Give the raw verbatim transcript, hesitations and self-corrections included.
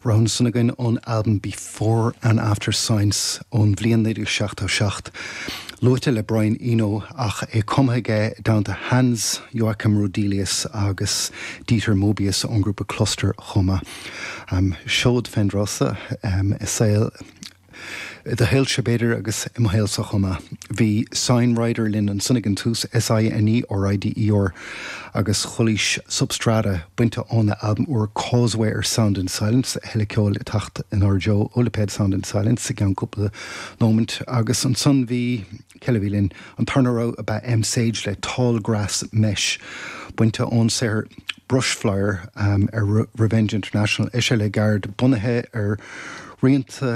Rogha ansan againn ón albam Before and After Science ón bhliain naoi déag seachtó seacht. Luaite le Brian Eno ach é cumtha aige i dteannta Hans Joachim Roedelius agus Dieter Moebius ón ngrúpa Cluster chomh maith. Um, seod fén dtráth um, i saol i do shaolsa b'fhéidir agus i mo shaolsa chomh maith. Bhí Sinerider linn ansan ag an tús S I N E R I D E R agus chualaís Substrata bainte óna albam úr Causeway ar Sound and Silence. Tuilleadh ceoil ag teacht inár dtreo ó lipéad Sound and Silence i gceann cúpla nóimint. Agus ansan bhí cé eile a bhí linn? An tarna rogha ab ea M Sage le Tall Grass Mesh bainte ón saothar Brushfire um, ar Revenge International. É sé le gairid bunaithe ar rianta.